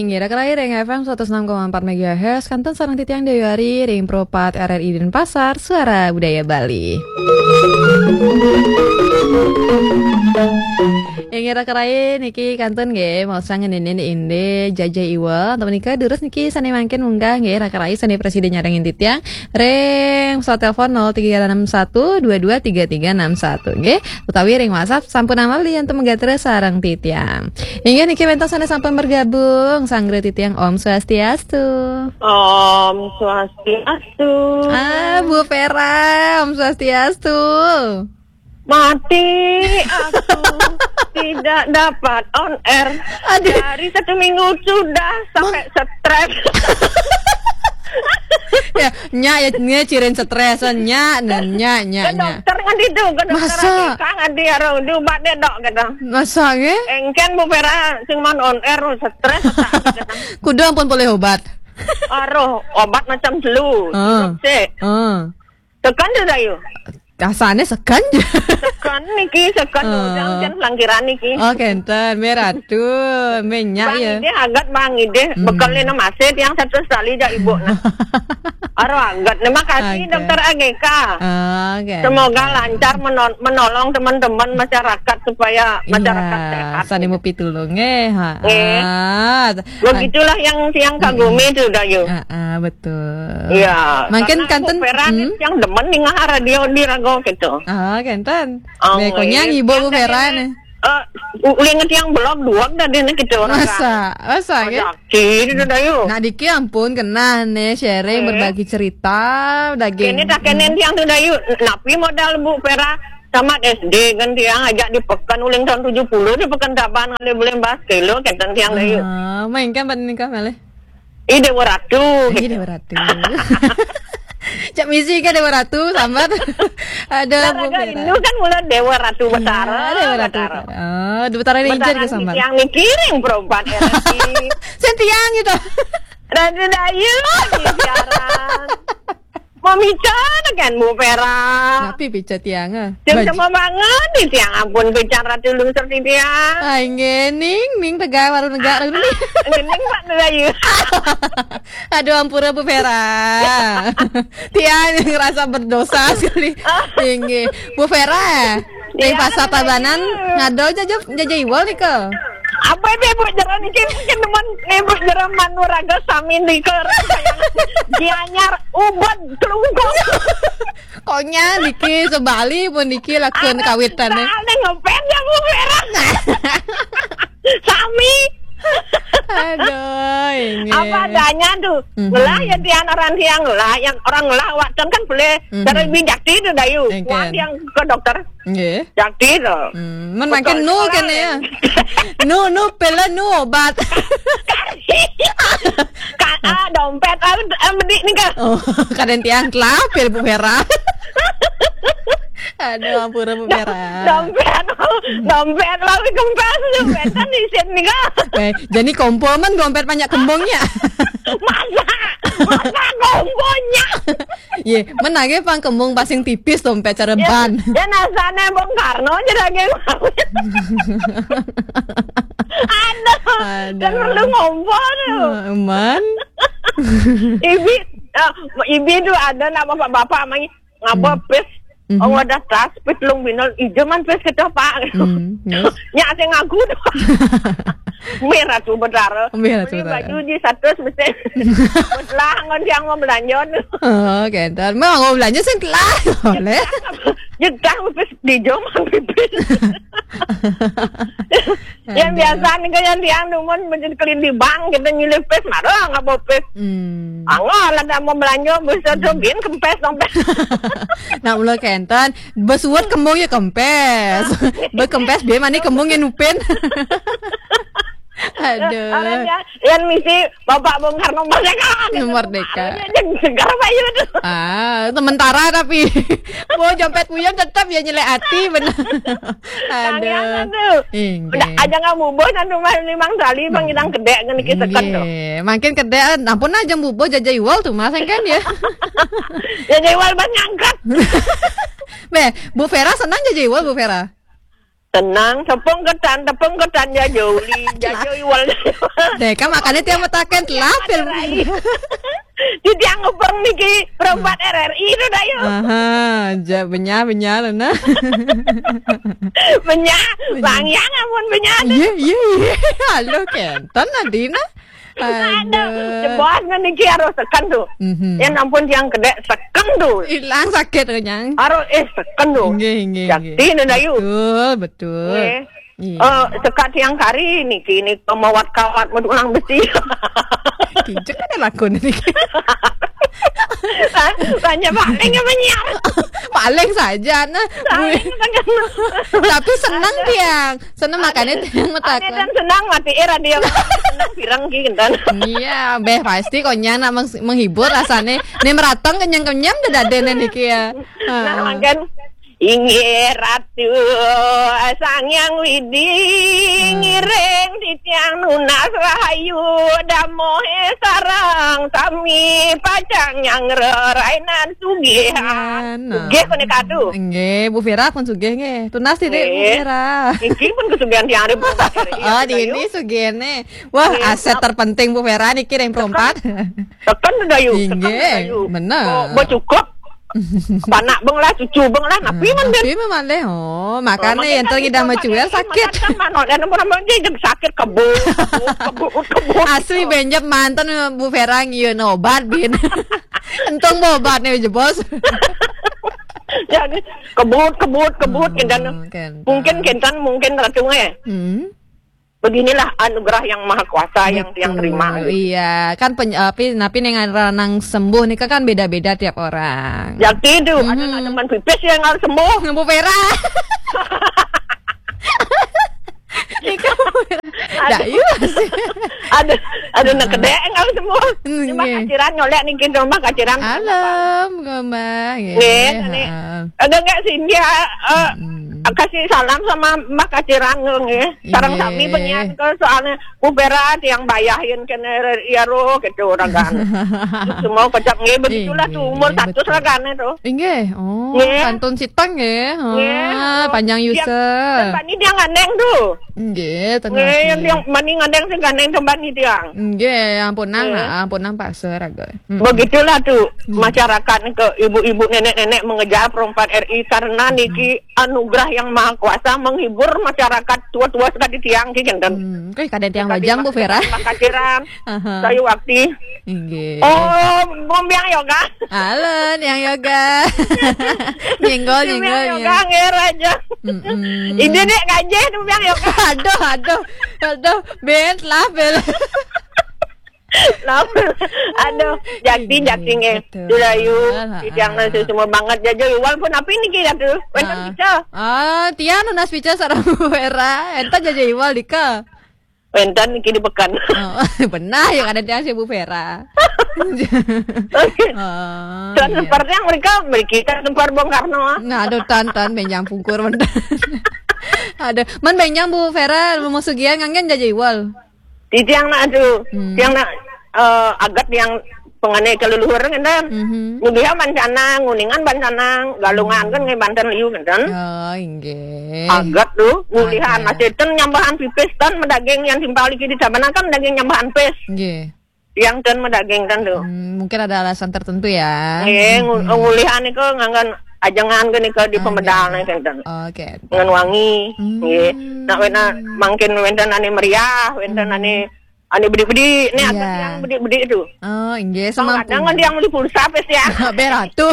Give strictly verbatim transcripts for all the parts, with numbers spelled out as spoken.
Inggih, raka rai ring F M seratus enam koma empat megahertz, kantun sareng titiang Dewi Ari ring Pro empat R R I Denpasar, Suara Budaya Bali. Inggih, raka rai niki kantun nggih, maosang ngeninin indik Jaja Iwal. Antuk menika durus niki sane mangkin munggah nggih, raka rai sane prasida nyarengin titiang ring pesawat telepon nol tiga enam satu dua dua tiga tiga enam satu nggih, utawi ring WhatsApp sampun amali antuk magatra sareng titiang. Inggih niki wenten sane sampun bergabung, sanggra titiang Om Swastiastu. Om Swastiastu. Ah, Bu Vera, Om Swastiastu. Mati aku tidak dapat on air. Aduh. Dari satu minggu sudah sampai stres. Ya, nyak ya, nyak cirin stres, nyak, nyak, nyak, Ke nyak. Dokter kan itu, ke dokter. Masa? Kan di arung di obat deh dok gitu. Masa nggih? Engken Bu Vera sing man on air stres tak gitu. Kudu ampun boleh obat. Aduh, obat macam flu. Ah. Sik. Ah. Tekan tu Dayu. Kasane seken je. Seken niki, seken. Ah. Udah hujan pelangkiran niki. Oh, kenten, merah tu, minyak Bang ya. Ide agat Bang Ide, hmm, bekel ni masih tiang satu sekali jak ibu nah. Aduh agat. Terima kasih, oke, Dokter Ageka. Ah, oke. Semoga lancar menon- menolong teman-teman masyarakat supaya masyarakat, iya, sehat. Sane mupi tulung eh. Ha. Nggih. Ah. Begitulah yang tiang kagumi tu Dayu. Ah, ah, betul. Iya. Mangkin karena kanten, Bu Vera ni hmm? Tiang demen ningah radio di rago gitu. Ah, kenten. Oh, be, konyang ibu Bu Vera ni. Eh, u- ulih ngerti yang blog dua dah dia ni gitu. Masa, masa ke? Sakit itu Dayu. Nak diki ampun kena ni sharing, eh, berbagi cerita daging. Ini tak kena tiang tu Dayu. Napi modal Bu Vera tamat S D kan tiang ajak di pekan uling tahun tujuh puluh di pekan Taban ngalih boleh bahas kilo kenten tiang Dayu. Ah, main kan Pak Nikah malih. Ih, Dewa Ratu. Ih, gitu. Dewa Ratu. Cak misi ke Dewa Ratu, sambat. Ada. Lah, Bu Vera. Rindu kan mula Dewa Ratu Betara. Iya, Dewa Ratu Betara. Betara. Ah, Dewa Betara Rinjen ke sambat. Yang mikiring perempuan R R I. Sentiang gitu. Ratu Dayu di siaran. Mamican kan Bu Vera. Napi pica tiang ah? Tiang sama banget di tiang ampun pican Ratu Lungsur di tiang. Ai ngening ning tegai baru negak dulu ni. Ngening Pak Melayu. Aduh ampura Bu Vera. Tiang yang ngerasa berdosa sekali. Inggih. Bu Vera. Ring Pasar Tabanan ngado jaja jaja iwal nika. Apa dia buat jalan ni? Mungkin teman ni buat jalan manuraga sami nika. Gianyar ubat kelungkung. Konya niki sebali pun niki lakun kawitan ni. Soalnya ngepet ya Bu Vera. Sami. Aduh, ini. Apa adanya tu? Mhm. Ngelah ya tiang orang tiang ngelah, yang orang ngelah waktu kan boleh. Mhm. Dari bijak tu Dayu. Engken. Wan yang ke dokter. Nggih. Jakti to. Hmm, men mangkin nu kene ya. Nu, nu pela nu obat. Ka, ah, dompet ah, eh, medik ni ke? Oh, kadang tiang telah pil Bu Vera. Aduh, ampura Bu Vera. Dompet, dompet lawi kempes tu, dompet kan isin ni ke? Eh, jadi kompol men dompet banyak kembungnya. Masa, masa kompolnya? Ye, menage pang kembung pasing tipis dompet cara ban. Ya, nasane Bung Karno je daging. Aduh, aduh. Kan perlu ngompol tu. Man. Ibi, ah, ibi tu ada nak bapak-bapak mai ngaba pis. Oh, ada tas pis lung binal ijaman pis kita pak. Hmm, yes. Nya sing ngaku tu. Merah tu Betara. Merah tu Betara. Baju di satu mesti. Lah ngon yang mau belanja tu. Oh, kenten. Mau belanja sing telah. Boleh. Jedah pis di jom pipis. Yang biasa ni kan yang tiang dumun menjadi kelin di bank kita nyilih pis marah ngaba pis. Hmm. Angah lah dah mau belanja bisa tu bin kempes dompet. Nak mula kenten. Besuat kembung ya kempes. Berkempes biar mani kembung ya nupin. Aduh. Orang yang, yang misi Bapak Bung Karno Merdeka. Merdeka. Orang yang segar Pak Yu tu. Ah, sementara tapi. Mau jompet puyun tetap ya nyelek hati benar. Aduh. Inggih. Aja nggak bubuh dan rumah limang tali bang hilang kedek kan niki seken tu. Inggih. Makin kedek ampun aja bubuh jaja iwal tu mas kan ya. Jaja iwal ban ngangkat. Beh, Bu Vera senang jaja iwal Bu Vera. Tenang, tepung ketan, tepung ketan, jaja uli, jaja iwal. Deh, kan makanya tiang mataken telapil. Di tiang ngepeng niki, perempat R R I itu dah yuk. Aha, ja, benyah, benyah, nah. Benyah, Bang Yang amun benyah. Iya, iya, iya. Halo, Kenton, Nadina. Aduh, jebos niki harus seken tuh. Mhm. Ya ampun, tiang kedek seken tuh. Hilang sakit kenyang. Harus, eh, seken tuh. Nggih, nggih, nggih. Jakti nih, Dayu. Betul, betul. Nggih. Iya. Eh, sekat tiang kari niki, niki mawat kawat medulang besi. Kijek ada lakon niki. Banyak paling yang menyiar. Paling saja, nah. Paling saja. Tapi senang tiang. Senang makanya tiang mataken. Ane kan senang mati radio. Senang pirang ki, Kenton. Iya, beh, pasti konyang nak meng-, menghibur rasanya. Nih meratong kenyang-kenyang udah dadene niki ya. Nah, makan. Inggih Ratu, Sang Hyang Widi, ngiring titiang nunas rahayu, damohe sareng sami pacang nyangrerainan sugih. Nah. Sugih kene kadu. Nggih, Bu Vera pun sugih nggih. Tunas titik Bu Vera. Iki pun kesugihan tiang hari. Oh, di ini sugihne. Wah, aset terpenting Bu Vera niki ring perempat. Tekan Dayu, tekan Dayu. Bener. Oh, bo cukup. Panak beng lah, cucu beng lah, napi man ben. Napi man deh. Oh, makanya yang tadi dah macuel sakit. Kan manok, dan orang dia jadi sakit kebut, kebut, kebut, kebut. Asli benjep mantan Bu Vera ngiun obat bin. Entong obat nih jebos. Jadi kebut, kebut, kebut, Kenton. Mungkin Kenton, mungkin Ratu eh. Hmm. Beginilah anugerah yang maha kuasa yang tiang terima. Iya, kan peny-, api, napi ning aran sembuh nih kan beda-beda tiap orang. Jadi itu, ada nak teman pipis yang harus sembuh. Bu Vera. Nika Bu Vera. Ada, ada nak kedek yang harus sembuh. Cuma kaciran nyolek nih, kita rumah kaciran. Alam, gomah. Nih, ada nggak sih dia, eh, kasih salam sama Mbak Kaciran nggih. Sareng sami penyiar ke soalnya Bu Vera tiang bayahin kene ya roh gitu orang kan. Semua kocak nggih, begitulah tuh umur satu seragane tuh. Inggih. Oh, nggih. Kantun siteng nggih. Nggih. Ah, panjang user. Tempat ini dia ngandeng tuh. Nggih, tenang. Nggih, yang mani ngandeng sing gandeng tempat ini tiang. Nggih, ampunang, nggih. Nah, ampunang Pak Seraga. Begitulah tuh masyarakat ke ibu-ibu nenek-nenek mengejar perempat R I karena niki anugerah yang maha kuasa menghibur masyarakat tua-tua sekali tiang ki kenten. Hmm, oke, kada tiang bajang Bu Vera. Makaciran. Aha. Saya wakti. Inggih. Oh, Bumbiang Yoga. Halo, Niang Yoga. Nyenggol, nyenggol, Yoga nggih raja. Mm-mm. Ini dek gajah Bumbiang Yoga. Aduh, aduh. Aduh, ben lah, ben. Lah, aduh, jakti, jakti nggih. Betul. Dulayu, tiang nasi semua banget jaja iwal pun apa ini kira tuh? Wenten pica. Ah, tiang nunas pica sareng Bu Vera. Enta jaja iwal dika. Wenten niki di pekan. Oh, benar ya ada tiang si Bu Vera. Oke. Oh, transfer yang mereka, mereka transfer Bung Karno. Nah, aduh, tan, tan, benjang pungkur, bener. Aduh, man benjang Bu Vera, mau sugihan nganggen jaja iwal. Di tiang nak tu, tiang nak, eh, agat yang pengane ke leluhur ngenten. Mhm. Nguliha bancanang, nguningan bancanang, galungan kan ngai banten liu ngenten. Oh, inggih. Agat tu, ngulihan masih ten nyambahan pipis tan medaging yang timpal iki di cabana kan daging nyambahan pis. Nggih. Yang ten medaging tan tu. Hmm, mungkin ada alasan tertentu ya. Nggih, ngu-, ngulihan iku nganggon ajengan ke nika di pemedal nih ngenten. Oke. Ngan wangi. Hmm. Nggih. Nak wena mangkin wenten ane meriah, wenten ane Ane bedik-bedik, ni ada yang bedik-bedik tu. Oh, inggih, semampunya. Kadang ada yang beli pulsa pes ya. Beratu.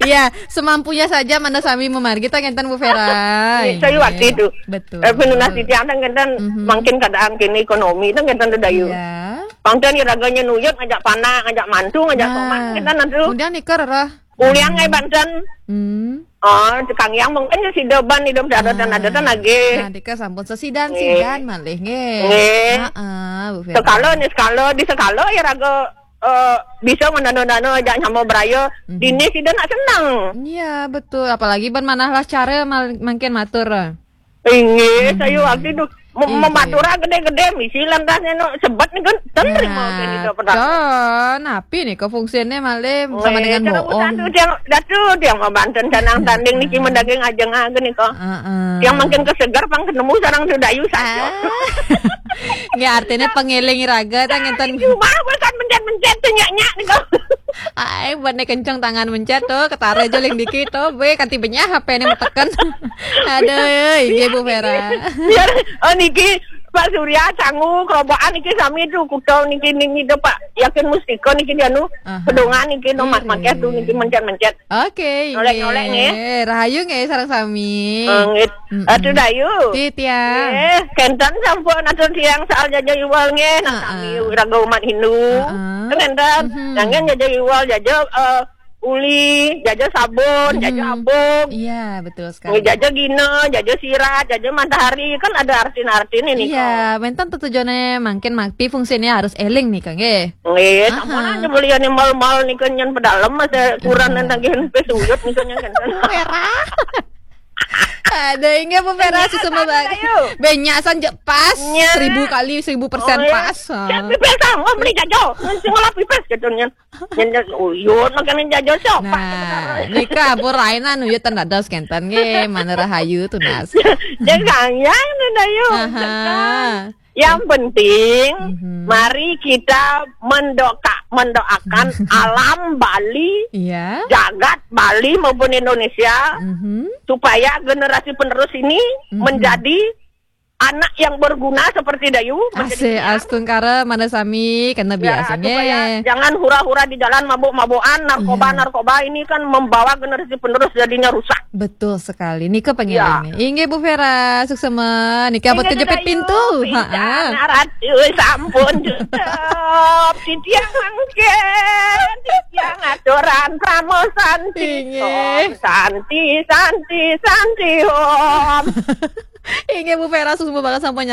Iya, semampunya saja mana sami memargi ta ngenten Bu Vera. Saya waktu itu. Betul. Eh, penunas titiang kan ngenten mangkin keadaan kini ekonomi kan ngenten tu Dayu. Iya. Pangten ya raganya nuyut ngajak panak, ngajak mantu, ngajak tomat ngenten tu. Kemudian nikah rerah. Ulian ngai banten. Hmm. Oh, tukang yang mungkin ya sida ban hidup ada tan ada tan lagi. Nah, dika sampun sesidan-sidan malih nggih. Nggih. Heeh, Bu Firman. Sekala ni sekala di sekala ya raga, eh, bisa ngendana-dana ajak nyama beraya. Dini sida nak senang. Iya, betul. Apalagi ban manah lah cara mal-, mangkin matur. Inggih, saya waktu itu Mem- Iya. Mematura gede-gede, misi lantas anu sebet nih kan, ten terima. Nah, kan itu pernah. Kan, api nih kok fungsinya malih sama dengan bohong. Datu, tiang, datu, tiang mabanten canang tanding niki mendaging ajeng aja nih kok. Heeh. Yang makin kesegar pang ketemu sarang Dayu saja. Ah. Nggih, artinya pengiling raga, tah ngenten. Cuma bukan mencet-mencet tuh nyak-nyak nih kok. Ai, buat nih kenceng tangan mencet tuh, ketara aja ling dikit tuh, be, kanti benyah H P ini meteken. Aduh, iya Bu Vera. Biar, oh niki, Pak Surya, sangu, kerobokan niki sami tuh, kuda niki, niki tuh, Pak. Yakin Mustika niki dia nu, aha, pedongan niki, no, mak-, maknya tuh niki mencet-mencet. Oke, nolek-nolek nggih. Rahayu nggih sareng sami. Eh, nggih. Mm-mm. Atuh Dayu. Titiang. Nggih, kenten sampun atur tiang soal jaja iwal nggih, nah, heeh, sami raga umat Hindu. Heeh. Kenten. Mhm. Jangan jaja iwal, jaja, eh, uli, jaja sabun, jaja abung. Iya, betul sekali. Nggih, jaja gina, jaja sirat, jaja matahari, kan ada artin-artin ini. Iya, kok. Menten tujuannya mungkin makti fungsinya harus eling nih, Kang, nggih. Nggih, aha, sampun aja belian mal-mal nih kan nyen pedalem masa kurang nang tagihan pes uyut nih kan nyen kan. Merah. Ada inggih Bu Vera, susah banget. Ayo. Banyak saja pas. Nya. Seribu kali, seribu persen. Oh, iya. Pas. Siap pipis, ah, mau beli jajo. Sing ngolah pipis gitu nyen. Nyen, nyen, uyut makanya jajo sok. Nah, nika ampun rainan uyut ten dados kenten nggih, mana rahayu tunas. Jangan ya, nenda yuk. Aha. Yang penting, mhm, mari kita mendoka-, mendoakan alam Bali, iya, jagat Bali maupun Indonesia, mhm, supaya generasi penerus ini, mhm, menjadi anak yang berguna seperti Dayu, menjadi, asih, tiang. Astungkara, mana sami, kena, ya, biasanya. Supaya jangan hura-hura di jalan mabuk-mabukan, narkoba, iya, narkoba ini kan membawa generasi penerus jadinya rusak. Betul sekali. Nika pengiling nih. Inggih Bu Vera, suksema. Nika abot kejepit pintu. Inggih, Dayu. Heeh. Istana Ratu sampun tutup. Titiang mangkin, titiang aturan Pramu Santi. Inggih. Om Santi, Santi, Santi, Om. Inggih Bu Vera, suksema banget sampun